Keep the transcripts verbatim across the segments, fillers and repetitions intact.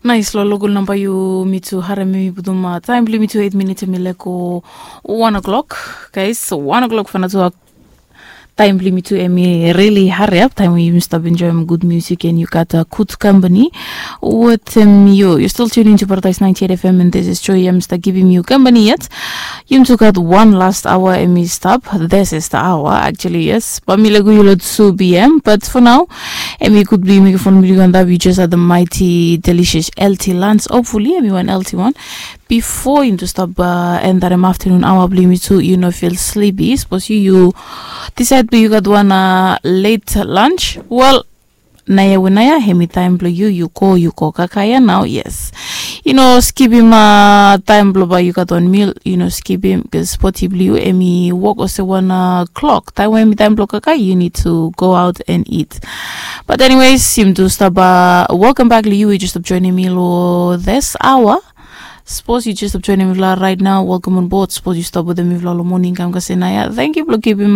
Nais, lo lokol namba yu mi tu harem, mi putum taem blong mi tu eit minit, em i lego wan o'clock. Guys, wan o'clock fanatu. Taem blong mi tu em i rili hariap, taem we yumi stap enjoem gud musik and yu gat gud kampani wetem yu. Yu stil tuning to Paradise ninety eight F M and this is Joy. Yumi stap givim yu kampani yet. Yumi tu gat wan last aoa em i stap. This is the hour actually, yes. Bae mi lego yu lo two p.m. But for now, em i gud blong yu mekem fon blong yu antap. Yu just at the mighty delicious L T lunch. Hopefully em i wan L T wan. Bifo yumi tu stap endarem aftanun aoa blong yumi tu, yu no fil slipi. Sapos yu yu disaed blong yu gat wan let lunch, wel, naoia we naoia em i taem blong yu, yu go, yu go kakae ia nao, yes. Yu no skipim taem blong bae yu gat wan mil, yu no skipim, bikos bodi blong yu em i wok olsem wan klok. Taem we em i taem blong kakae, yu nid tu go aot and it. But anyways, yumi tu stap welcome back long yu we yu stap joenem mi lo this hour. Sapos yu jes stap joenem mifala raet nao, welcome on board. Sapos yu stap wetem mifala lo moning kam kasem naoia, tangkiu blong givim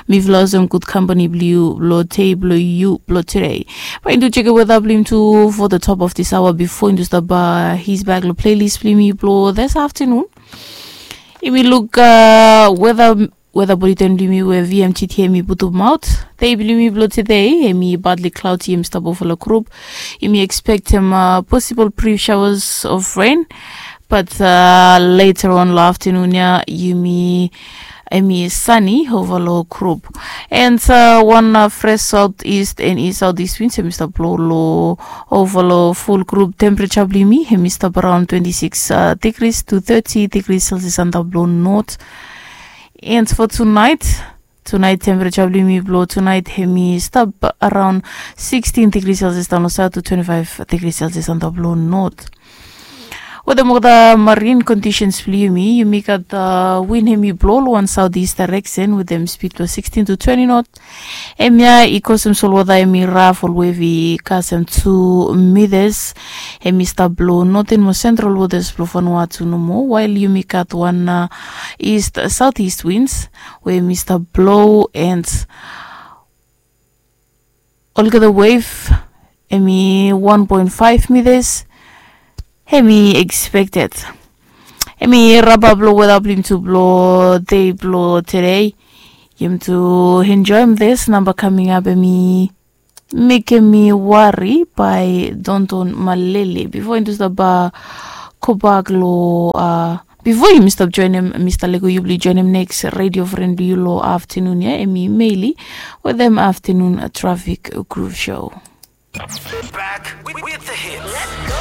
mifala olsem gud kampani blong yu lo dei blong yu blo tude. Bae yumi tu jekem weta blong yumi tu for the top of this hour bifo yumi tu stap his back lo playlist blong yumi blo this aftanun. Yumi luk weta weta buleten blong yumi we V M T T em i putum aot. Dei blong yumi blo tude em i partly cloudy, em i stap ova lo grup. Yumi ekspektem posibol brief showers of rain, but later on lo aftanun ia yumi em i sani ova lo grup. And wan fres southeast and east southeast winds em i stap blo lo ova lo ful grup. Temperature blong yumi em i stap araon twenty six degrees to thirty degrees Celsius antap lo not. And for tonight, tonight temperature blong yumi blo tonight em i stap araon sixteen degrees Celsius daon lo south to twenty five degrees Celsius antap lo not. Wetem olgeta marine conditions blong yumi, yumi gat win em i blo lo wan southeast direction wetem speed blo sixteen to twenty not. Em ia i kosem solwota em i raf, ol wave i kasem tu mitas. Em i stap blo noten mo sentral wotas blo Vanuatu nomo, wael yumi gat wan east southeast winds we em i stap blo and olgeta wave em i wan poen faef mitas. Em i ekspekted. Em i rapap lo weta blong yumi tu blo dei blo tude. Yumi tu enjoem this namba kaming ap, em i mekem mi wari bae Donton Malele. Bifo yumi tu stap gobak lo bifo yumi stap joenem, mi stap lego yu blong yu joenem neks redio fren blong yu lo aftanun ia, em i Meli wetem aftanun trafik groove show. Back with the hits.